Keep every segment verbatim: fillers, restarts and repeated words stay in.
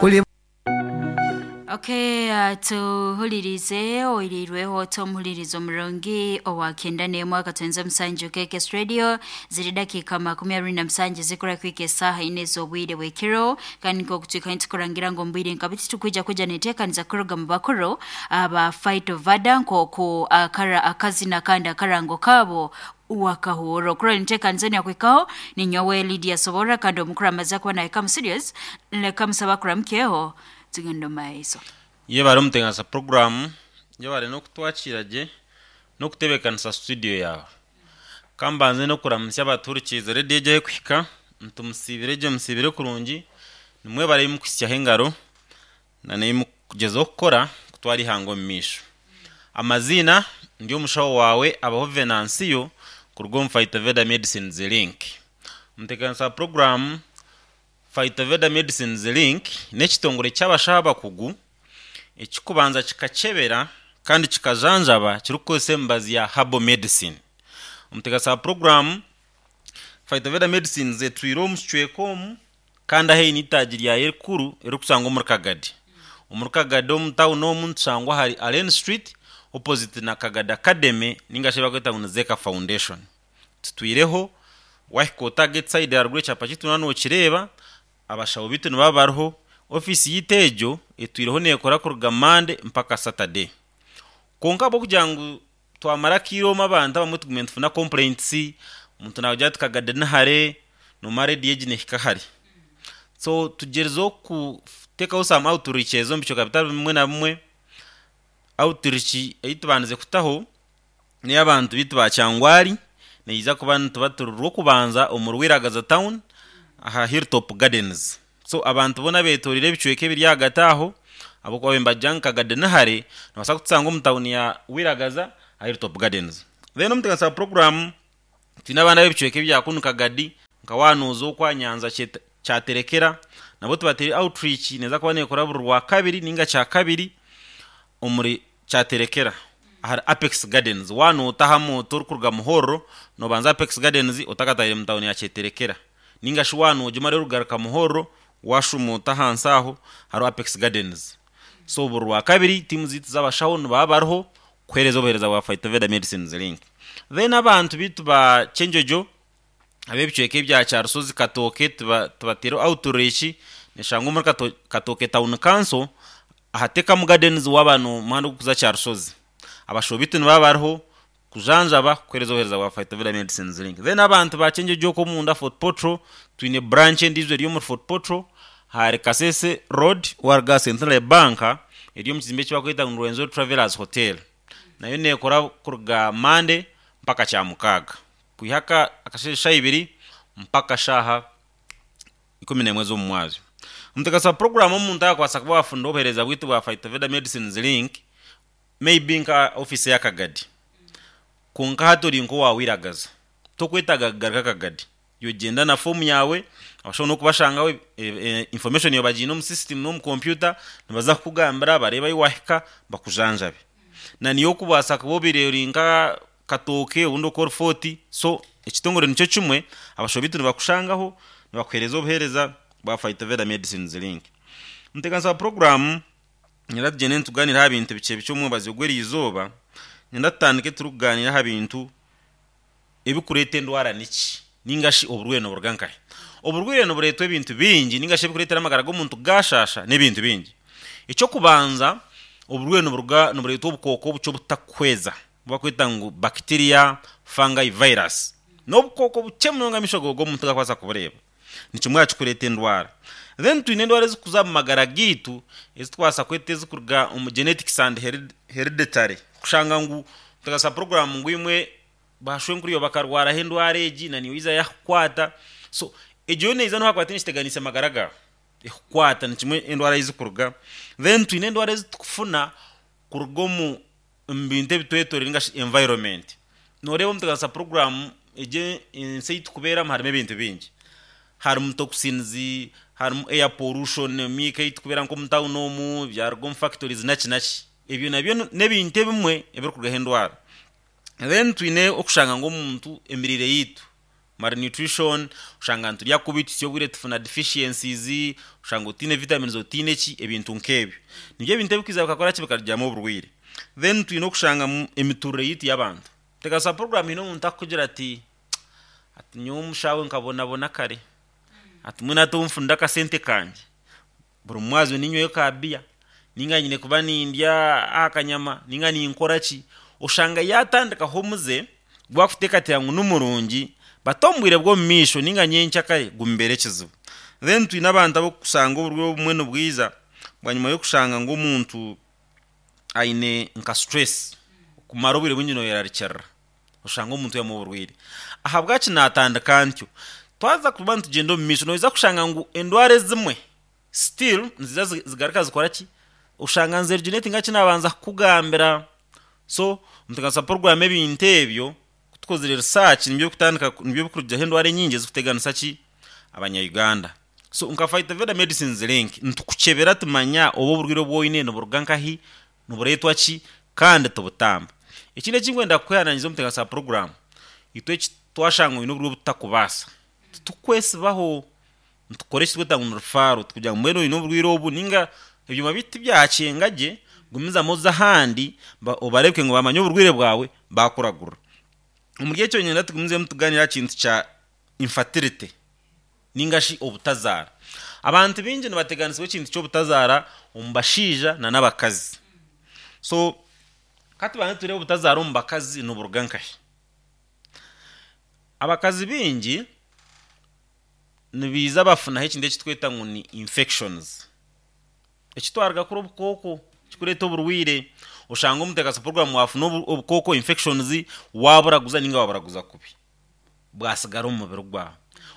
Kuli Okay, uh, tuhulirize oirirweho tomuhulirizo murungi owa kenda n'emwe akatwenza musanju K K S Radio ziri dakika makumi abiri na musanju zikora kwika esaha ine z'obwire bw'ekiro kandi nk'okutwika nitukurangira ngu omu nka biti tukwija kuja neteekaniza kuruga mu bakuru aba Phytoveda nk'oku akara akazina kandi akarango kaabo wakahuro kuro niteekaniza nyakwikaho ninyowe Lydia Sobora kandi omukuru amaze kuba naye kamu serious leka musaba kuramukyeho tugenda omu maiso. Ye bari omuteganisa programu ye bari n'okutwakira gye n'okutebeekanisa studio yawe kambanze n'okuramusya abaturikiize rediyo egyo kuhika ntumusiibire gye musiibire kurungi nimwe bari mukuhisyaho engaro na nimukugyezaho kukora kutwara ihanga omu maisho. Amaziina ndi omushaho wawe abaho Venansiyo kuruga omu Phytoveda Medicines Link. Omuteganisa wa programu Phytoveda Medicines Link n'ekitongore ky'abashaho abakugu ekikubanza kikakyebera kandi kikajanjaba kirikukozesa emibazi ya herbal medicine. Omuteganisa wa programu Phytoveda Medicines etwire omu kicweka omu kandi aheine itaagi ryayo erikuru eririkusangwa omuri Kagadi. Omuri Kagadi omu tawuni omu nitushangwa ahari Allen Street opposite na Kagadi Academy ningashi eyi barikweta ngu ni Zeka Foundation. Tutwireho wahika ota side aharuguru ekyapa kyaitu noba nokireeba abashaho baitu nibaba bariho ofiisi yaitu egyo etwireho neekora kuruga Monday mpaka Saturday. Kwonka ahabw'okugira ngu twamara akaire omu abantu abamwe tugume nitufuna complaints omuntu naagira ati Kagadi ni hare noomara rediyo egi neehika hare. So tugyerizeho kuteekaho some outreaches omu bicweka bitari bimwe na bimwe. Outreach ei tubandize kutaho n'ey'abantu baitu ba Kyangwari neija kuba nituba turi rw'okubanza omuri Wiragaza town aha Hilltop Gardens. So abantu boona beetoreire ebicweka ebiri ahagati aho ahabw'okuba nibagira ngu Kagadi ni hare nibabaasa kutusanga omu tawuni ya Wiragaza aha Hilltop Gardens. Then omuteganisa wa programu twine abaana b'ebicweka ebya kunu Kagadi nka waanooza okwa Nyanza Kyaterekera nabo tubateire outreach neeza kuba neekora buri rwakabiri ninga kyakabiri omuri Kyaterekera ahari Apex Gardens. Waanoota aha moto orikuruga Muhorro noobanza Apex Gardens otakatahire mu tawuni ya Kyeterekera ninga shi waanoogimara orikugaruka Muhorro washuuma ahansi aho hariho Apex Gardens. So buri rwakabiri tiimu zaitu z'abashaho nibaba bariho kuheereza obuheereza bwa Phytoveda Medicines Link. Then abantu baitu ba Kyenjojo ab'ebicweka ebya Kyarusozi Katooke tubateire outreach neshangwa omuri Katooke Town Council aha Tekamu Gardens waaba n'omuhanda ogurikuza Kyarusozi. Abashaho baitu nibaba bariho kujanjaba kuheereza obuheereza bwa Phytoveda Medicines Link. Then abantu ba Kyenjojo okwo omunda Fort Portal twine branch endiijo eri omuri Fort Portal ahari Kasese Road waruga aha Centenary Bank eri omu kizimbe eki barikweta ngu Rwenzori Travelers Hotel. Nayo neekora kuruga Monday mpaka Kyamukaaga kwiha akasheeshe shaaha ibiri mpaka shaaha ikumi n'emwe z'omu mwazyo. Omuteganisa wa programu omuntu akakwasa kuba waafuna obuheereza bwaitu bwa Phytoveda Medicines Link maybe nka ofiisi ya Kagadi kwonka hati ori nk'owa Wiragaza tokwetaaga kugaruka Kagadi yogyenda na foomu yaawe abashaho n'okubashangaho information yawe bagiine omu system n'omu computer nibaza kukugambira bareebe ahi wahika bakujanjabe. Na niyo okubaasa kuba obaire ori nka Katooke obundi okwo ori Fort so ekitongore nikyo kimwe abashaho baitu nibakushangaho nibakuheereza obuheereza bwa Phytoveda Medicines Link. Omuteganisa wa programu nyenda tugyende nitugaaniira aha bintu bikye bikye omwebazyo gw'eriizooba nyenda tutandike turikugaaniira aha bintu ebikureeta endwara niki ninga shi oburwaire niburuga nkahi. Oburwaire nibureetwa ebintu bingi ninga shi ebikureetera amagara g'omuntu gaashaasha n'ebintu bingi. Ekyokubanza oburwaire niburuga nibureetwa obukooko obukye obutakuhweza obu barikweta ngu bacteria, fungi, virus. N'obukooko bukye munonga amaisho gawe g'omuntu gakubaasa kubureeba. Ni kimwe aha kikureeta endwara. Then twine endwara ezikuza omu magara gaitu ezitukubaasa kweta ezikuruga omu genetics and hereditary kushanga ngu omuteganisa programu ngu imwe bashwenkuru bakarwaraho endwara egi na niiwe eiza yakukwata so egyo yo neija nohakuba nekiteganisa amagara gaawe ekukwata ni kimwe endwara ezikuruga. Then twine endwara ezitukufuna kuruga omu bintu ebitwetoreire ninga shi environment. Nooreeba omuteganisa programu egi ensi ei tukubeeramu harimu ebintu bingi. Harimu toxins, harimu air pollution emiika ei tukubeera nk'omu tawuni omu byaruga omu factories naki naki. Ebyo nabyo n'ebintu ebimwe ebirikurugaho endwara. Then twine okushanga ngu omuntu emiriire yaitu Malnutrition, oshanga niturya kubi, tusya obwire tufuna deficiencies, oshanga otiine vitamins, otiine ki, ebintu nk'ebyo. Nibyo ebintu ebikwiza bikakora ki, bikarugyamu oburwaire. Then twine okushanga emiturire yitu y'abantu. Teganisa program hiine omuntu akukugira ati ati nyowe omushawe nkabonabona kare, ati mbwenu hati obu akasente kangye, buri mwazyo ninywayo ka biya, ninga nyine kuba nindya aha kanyama, ninga ninkora ki, oshanga yatandikaho omuze gwakuteekateeka ngu nimurungi, but omu bwire bw'omu maisho ninga nyencakare gumubeera ekizibu. Then twine abantu abokusanga oburwaire obumwe nibwiza bwanyima y'okushanga ngu omuntu aine nka stress, kumara obwire bwingi noyerarikirira, oshanga omuntu yamuha oburwaire. Ahabwaki natandika ntyo? Twaza kuba nitugyenda omu maisho noija kushanga ngu endwara ezimwe still niziza zigaruka zikora ki, oshanga nizi originate kinabanza kukugambira. So omuteganisa program ebintu ebyo tukozire research, nibyo kutandika, nibyo bikurugyaho endwara enyingi ezikuteganisa ki abanya-Uganda. So nka Phytoveda Medicines Link nitukukyebera tumanya oba oburwaire obu oine niburuga nkahi, nibureetwa ki, kandi tubutamba. Ekindi ekinkwenda kukwehanangiza omuteganisa program, itwe eki twashanga oine oburwaire obutakubaasa, titukwesibaho, nitukora ekitweta ngu ni referral, tukugira ngu mbwenu oine oburwaire obu ninga ebyoma biitu tibyakyenga gye, gumizamu oze ahandi obareebeke ngu bamanye oburwaire bwawe bakuragurira. Omuri ekyo niinyenda tugumizemu tugaaniire aha kintu kya infertility ninga shi obutazaara. Abantu baingi nibateganisibwa ekintu ky'obutazaara omu bashaija n'abakazi. So katubanze tureebe obutazaara omu bakazi niburuga nkahi. Abakazi baingi nibiiza bafunaho ekintu ekitweta ngu ni infections, ekitwaruga kuri obukooko kikureeta oburwaire, oshanga omuteekasa program wafuna obukooko, infections, waburaguza ninga waburaguza kubi, bwasigara omu mubiri gwawe.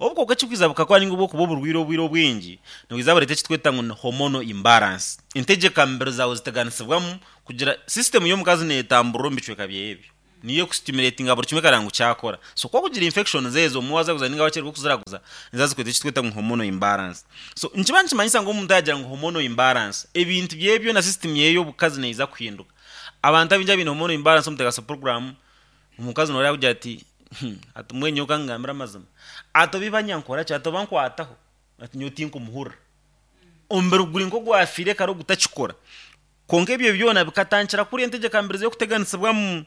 Obukooko ekikwiza bukakora ninga obwokuba oburwaire obwire obwingi nibwiza bureeta ekitweta ngu ni hormonal imbalance. Entegyeka mibiri zaawe ziteganisibwamu kugira system y'omukazi neetamburira omu bicweka byeye ebyo, niyo ekustimulatinga buri kimwe ekareba ngu kyakora. So ku okugira infections ezo obumwe wazaguza ninga wakyererwa okuziraguza, niziza zikureeta ekitweta ngu hormonal imbalance. So nikiba nikimanyisa ngu omuntu yagira ngu hormonal imbalance, ebintu byeye byona, system yeye y'obukazi neija kuhinduka. Abantu abaingi abaine hormonal imbalance omuteekasa program, omukazi nooreeba akugira ati ati mbwenu nyowe kangambire amazima, ati oba iba nyankora ki, ati oba nkwataho, ati nyowe tinkumuhurira. Omubiri guri nk'ogwafiire kare ogutakikora. Kwonka ebyo byona bikatandikira kuriya entegyeka mibiri z'okuteganisibwamu.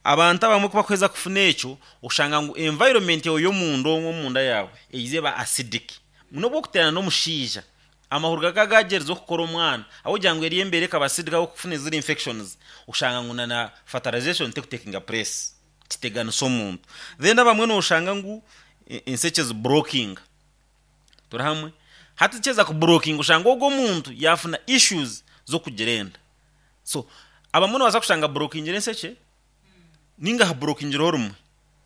Abantu abamwe kubakuheza kufuna ekyo, oshanga ngu environment yawe y'omunda omwo omunda yaawe eiza eba acidic. N'obu okuteerana n'omushaija, amahuri gakaba gagyerize okukora omwana, ahabw'okugira ngu eriyo embeera ekaba acidic ahabw'okufuna ziri infections, oshanga ngu na fertilization tekutakinga place, kiteganisa omuntu. Then abamwe noshanga ngu enshekye ziblockinga, turi hamwe? Hati kyeza kublockinga oshanga ogwo omuntu yafuna issues z'okugira enda. So abamwe nobaasa kushanga ablockingire enshekye ninga hablockingireho rumwe,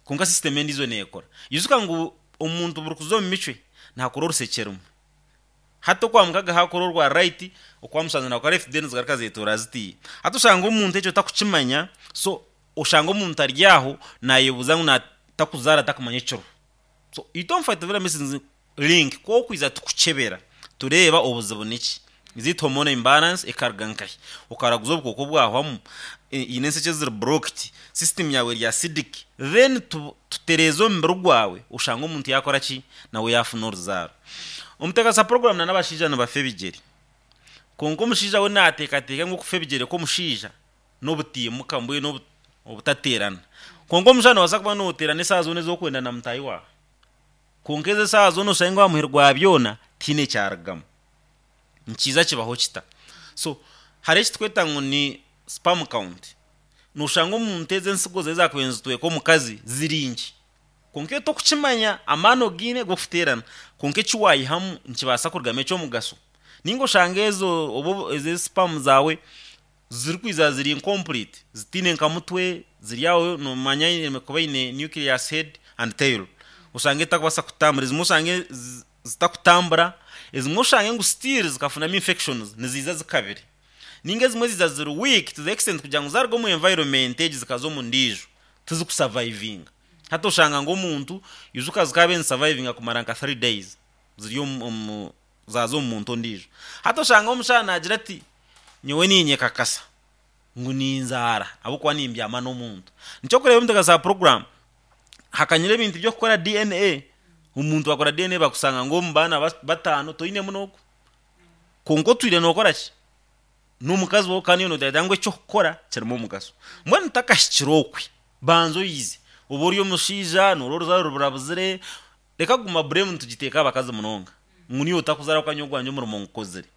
kwonka system endiijo neekora. Ijuka ngu omuntu buri kuza omu micwe naakora orushekye rumwe. Hati okwa mukaga haakora orwa right, okwa mushanju naakora left, then zigaruka zeetoora zitiiya. Hati oshanga omuntu ekyo takukimanya, so oshanga omuntu ari aho naayebuuza ngu takuzaara takumanya ekiriho. So itwe omu Phytoveda Medicines Link ku okwiza tukukyebera tureeba obuzibu niki. Is it hormonal imbalance ekaruga nkahi? Okaraguza obukooko bwahwamu, eine enshekye ziri blocked, system yawe eri acidic, then tutereeze omubiri gwawe oshanga omuntu yaakora ki, nawe yaafuna oruzaaro. Omuteekasa program n'abashaija nibafa ebigyere. Kwonka omushaija we naateekateeka ngu okufa ebigyere kw'omushaija n'obutiimuka mbwenu obutateerana. Kwonka omushaija noobaasa kuba nooteerana eshaaha zoona ez'okwenda na mutaahi waawe. Kwonka ezo eshaaha zoona oshange ngu aha muheru gwa byona tihaine ekyarugamu. Nikiija kibaho kita? So hariho ekitweta ngu ni sperm count. Noshanga omuntu ezo ensigo ze ezakubaire nizitweka omukazi ziri nkye. Kwonka iwe tokukimanya, amaani ogaine g'okuteerana, kwonka eki waayihamu nikibaasa kurugamu eky'omugasho. Ninga oshanga ezo oba ezo sperm zaawe zirikwija ziri incomplete, zitiine nka mutwe, ziri aho noomanya eine kuba eine nucleus, head and tail. Oshange etakubaasa kutambura, ezimwe oshange zitakutambura, ezimwe oshange ngu still zikafunamu infections niziiza zikabire. Ninga ezimwe ziiza ziri weak to the extent kugira ngu zaaruga omu environment egi zikaza omu ndiijo, tizikusurvivinga. Hati oshanga ngu omuntu ijuka zikaabaire nizisurvivinga kumara nka three days ziri omu zaaza omu muntu ondiijo. Hati oshanga omushaija naagira ati nyowe niinyekakasa ngu ninzaara ahabw'okuba nimbyama n'omuntu. Nikyo orikureeba omuteekateeka wa program, Hakanyira ebintu by'okukora D N A, omuntu akora D N A bakusanga ngo omu baana bataano toinemu n'ogu. Kwonka otwire nookora ki? N'omukazi wawe kandi noteekateeka ngu eky'okukora kirimu omugaso. Mbwenu takahikire okwe, banza oyize. Oba ori omushaija, noora oruzaaro ruburabuzire, reka kuguma blame nitugiteeka abakazi munonga. Ngu niiwe otakuzaara okanya ogwangye omurimo ngukozire.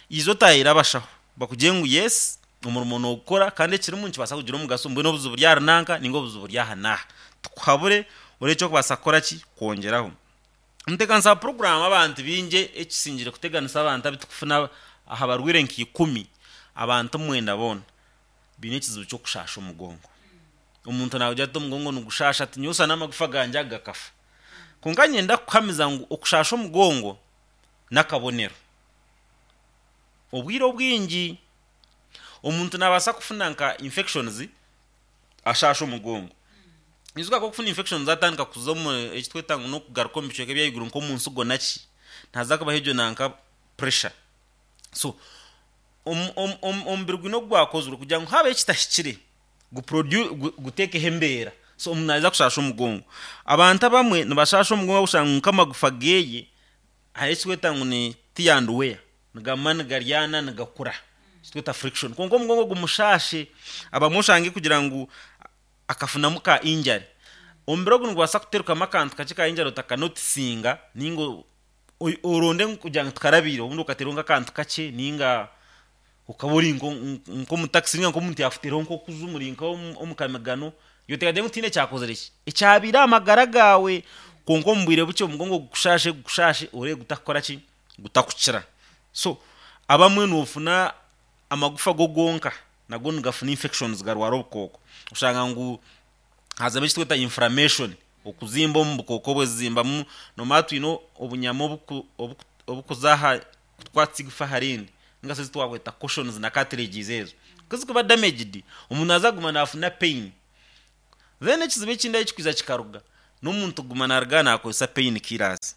Iza otahire abashaho, bakugire ngu yes, omurimo noogukora kandi ekirimu nikibaasa kugira omugaso, mbwenu obuzibu buri ahari nanka ninga obuzibu buri aha n'aha. Tukuhabure orebe ekyokubaasa kukora ki? Kwongyeraho. Ntekanisa program abantu bingi ekisingire kuteganisa abantu abitukufuna aha barwire nka ikumi, abantu mwenda boona biine ekizibu ky'okushaasha omugongo. Omuntu naagira ati omugongo nigushasha, ati nyowe n'amagufa gangye aga gakafa. Kwonka nyenda kukuhamiza ngu okushasha omugongo n'akabonero. Obwire obwingi omuntu naabaasa kufuna nka infections ashasha omugongo. Ijuka ko okufuna infections zatandika kuza omu ekitweta ngu n'okugaruka omu bicweka ebyaiguru nk'omu nsigo naki, naaza kubaho egyo nanka pressure. So omubiri gwine ogu gwakozirwe kugira ngu habaho ekitahikire guteekeho embeera. So omuntu naaza kushasha omugongo. Abantu abamwe nibashasha omugongo kushanga nk'amagufa geeye hariho ekitweta ngu ni tear and wear, nigama nigaryana nigakura, ekitweta friction. Kwonka omugongo gumushashe, abamwe oshange kugira ngu akafunamu ka injury. Omubiri ogu nigubaasa kuterukamu akantu kakye ka injury otakanotisinga, ninga oronde kugira ngu tikarabiire, obundi okateeraho nk'akantu kakye ninga okaba ori nk'omutakisi ninga nk'omuntu yaakuteeraho nk'okuju muri nk'omu kamigano, yoteekateeka ngu tihaine ekyakozire ki? Ekyabiire aha magara gaawe. Kwonka omu bwire bukye omugongo gukushashe gukushashe orebe gutakukora ki? Gutakukira. So abamwe noofuna amagufa go gonka nago nigafuna infections garwara obukooko. Oshanga ngu hazamu ekitweta inflammation, okuzimba omu bukooko bwezimbamu, nomara twine obunyama obukuza aha kukwatisa igufa aha rindi, ninga shi ezi twakweta cushions na cartilages ezo. Ku zikuba damaged, omuntu naaza kuguma naafuna pain. Then ekizibu ekindi ahu kikwiza kikaruga, n'omuntu kuguma naaruga naakozesa pain killers.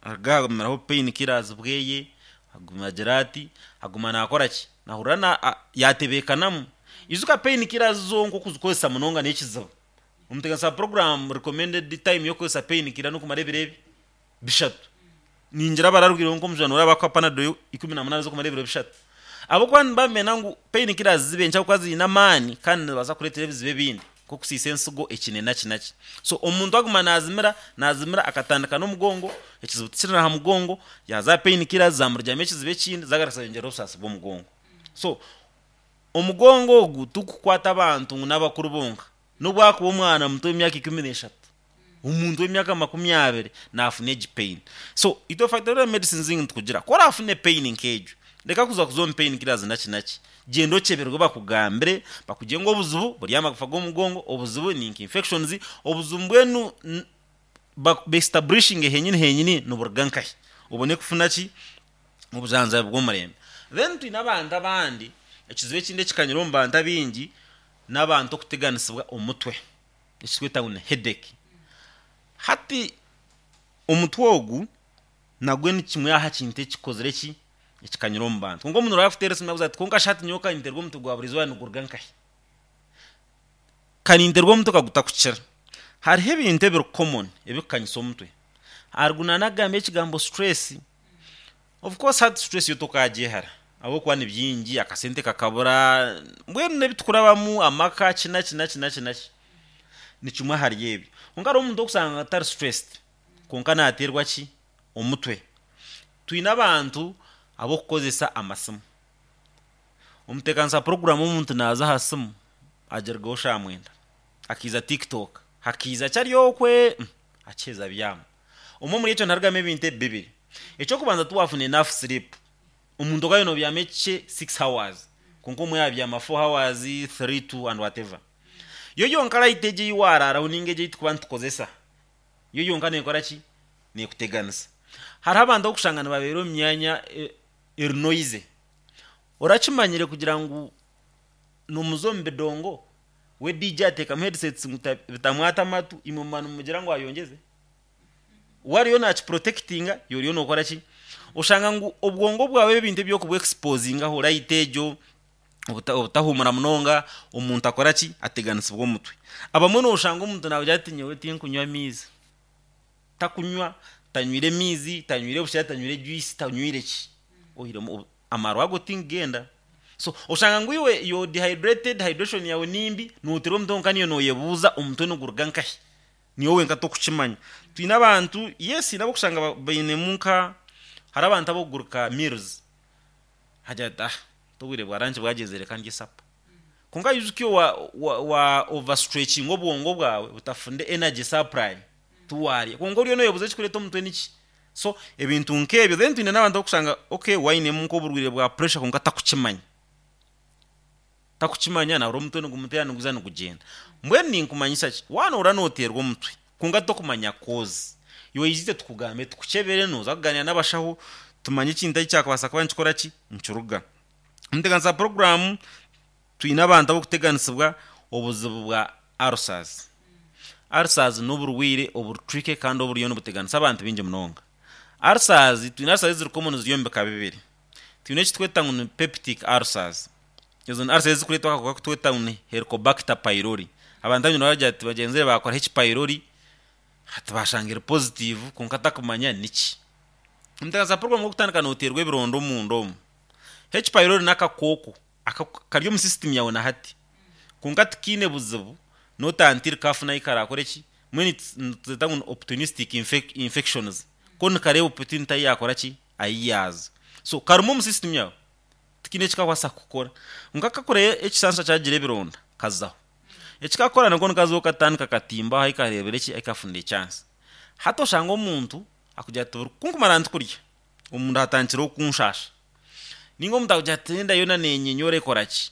Aruga agumiraho pain killers bweye, aguma agira ati, aguma naakora ki? Naahurira yaatebeekanamu. Ijuka pain killers zonka okuzikozesa munonga n'ekizibu. Omuteganisa program recommended time y'okukozesa pain killer n'okumara ebiro ebi bishatu. Ningira abararwireho nk'omujwani oraba bakuha Panadol ikumi na munaana z'okumara ebiro bishatu. Ahabw'okuba nibamenya ngu pain killers zibe nkye ahabw'okuba ziine amaani kandi nizibaasa kureetera ebizibu ebindi nk'okusiisa ensigo ekine naki naki. So omuntu aguma naazimira naazimira akatandika n'omugongo, ekizibu tikiri aha mugongo, yaaza aha pain killers zamurugyamu ekizibu ekindi zagaruka zayongyera obusaasi bw'omugongo. So omugongo ogu tigukukwata abantu ngu n'abakuru bonka, n'obu akuba omwana muto w'emyaka ikumi n'eshatu, omuntu w'emyaka makumi abiri naafuna egi pain. So itwe Factory Medicines nitukugira ku oraafune pain nk'egyo, reka kuza kuza omu pain killers naki naki, gyenda okyeberwe bakugambire, bakugire ngu obuzibu buri aha magufa g'omugongo, obuzibu ni nka infections, obuzibu mbwenu beestablishinge henyini henyini niburuga nkahi, obone kufuna ki? Obujanjabi bw'omurembe. Then twine abantu abandi, ekizibu ekindi ekikanyire omu bantu abaingi n'abantu okuteganisibwa omutwe, ekitweta ngu ni headache. Hati omutwe ogu nagwo ni kimwe aha kintu ekikozire ki? Ekikanyire omu bantu. Kwonka omuntu oraakuteera esimu akubuuza ati kwonka shi hati nyowe kaninterwa omutwe gwa buri izooba niguruga nkahi? Kaninterwa omutwe kagutakukira. Hariho ebintu ebiri common ebikukanyisa omutwe. Harigu naanagamba ekigambo stress. Of course hati stress yo tokagyehara ahabw'okuba ni bingi, akasente kakabura, mbwenu n'ebitukurabamu, amaka ki naki naki naki naki. Ni kimwe ahari ebyo. Kwonka hariho omuntu okusanga atari stressed kwonka naateerwa ki? Omutwe. Twine abantu ab'okukozesa amasimu. Omuteekanisa program omuntu naaza aha simu agirugaho shaaha mwenda, akiiza TikTok, hakiiza ki ari okwe, akiheza abyama. Omwe omuri ekyo niharugamu ebintu ebi bibiri. Eky'okubanza tiwaafuna enough sleep. Omuntu okaaba noobyama ekikye six hours, kwonka omwe yaabyama four hours, three, two and whatever. Yo yonka light egyo ei waaraaraho ninga egyo ei turikuba nitukozesa, yo yonka neekora ki? Neekuteganisa. Hariho abantu abokushanga nibabeera omu myanya eri noisy. Orakimanyire kugira ngu nomuza omu bidongo, we D J ateekamu headsets ngu bitamwata amatu, imwe muba nimugira ngu ayongyeze? We ariyo naakiprotectinga, iwe oriyo nookora ki? Oshanga ngu obwongo bwawe ebintu ebi orikubwexposingaho, light egyo, Obuta- obutahumura munonga, omuntu akora ki? Ateganisibwa omutwe. Abamwe noshanga omuntu nagira ati, "Nyowe tinkunywa amaizi." Takunywa, tanywire mizi, tanywire bushera, tanywire juice, tanywire ki, ohiremu obu- amarwa ago tingenda. So oshanga ngu iwe yo dehydrated, hydration yawe nimbi, noterwa omutwe. Nka niyo noyebuuza omutwe niguruga nkahi, niyo wenka tokukimanya. Twine abantu, yes, nabo kushanga ba- bainemu nka hari abantu abokuguruka meals, hagira ati, "Ah, tobwire bwa lunch bwagezere, kandi supper." Konka yijuke wa, wa, wa overstretching obwongo bwawe butafunde energy supply, tuwarya. Konka oriyo noyebuuza ekikureta omutwe niki. So ebintu nk'ebyo. Then twine n'abantu abokushanga, okay, wainemu nk'oburwire bwa pressure, konka takukimanya takukimanya nabura omutwe nigumutera, niguza nigugenda. Mbwenu ninkumanyisa ki? Wanoora noterwa omutwe konka tokumanya cause, iwe yizite tukugambe, tukukyebere, noza kuganira n'abashaho, tumanye ekintu eki kyakubasa kuba nikikora ki, nikiruga. Omuteganisa program, twine abantu abokuteganisibwa obuzibu bwa ulcers. Ulcers n'oburwire obutricky kandi oburiyo nibuteganisa abantu bingi munonga. Ulcers, twine ulcers eziri common, ziri omu bika bibiri. Twine ekitweta ngu ni peptic ulcers. Ezo ni ulcers ezikureetwa akakooko kutweta ngu ni Helicobacter pylori. Abantu abanyine baragira ati bagenzi be bakora H pylori, hati bashanga eri positive, konka takumanya niki. Omuteganisa program, okutandika noterwa ebironda omunda omu, H pylori n'akakooko aka- kari omu system yawe na hati, konka tikiine buzibu notantiri kafuna karakora eki. Mbwenu nituzeta ngu ni opportunistic infec infections, ko nikareeba opportunity ayi yakora ki, ayi yaaza. So karimu omu system yawe, tikiine ekikakwasa kukora, nka kakora ekisansa kyagira ebironda kazaho. Ekikakora nako nikazaho katandika katimba aho karebera eki aikafunda echance. Hati oshanga omuntu akugira ati, "Buri kunkumara ntikurya, omuntu atandikire okunshasha." Ninga omuntu akugira ati, "Enda yona nenyenyora ekora ki."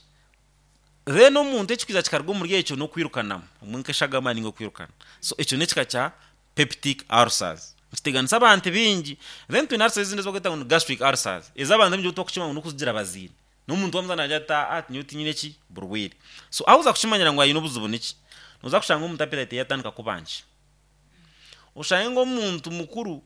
Then omuntu ekikwiza kikaruga omuri ekyo n'okwirukanamu omwe nk'eshagama ninga okwirukana. So ekyo n'ekika kya peptic ulcers, kiteganisa abantu bingi. Then twine ulcers ezindi ezibakweta ngu ni gastric ulcers, ez'abantu bingi tokukima ngu n'okuzigira baziine n'omuntu wamuzana nagira ati, "Ah, nyowe tinyine ki burwire." So aho uza kukimanyira ngu ayine obuzibu niki? Noza kushanga omuntu appetite yatandika kuba nkye, oshange ng'omuntu mukuru.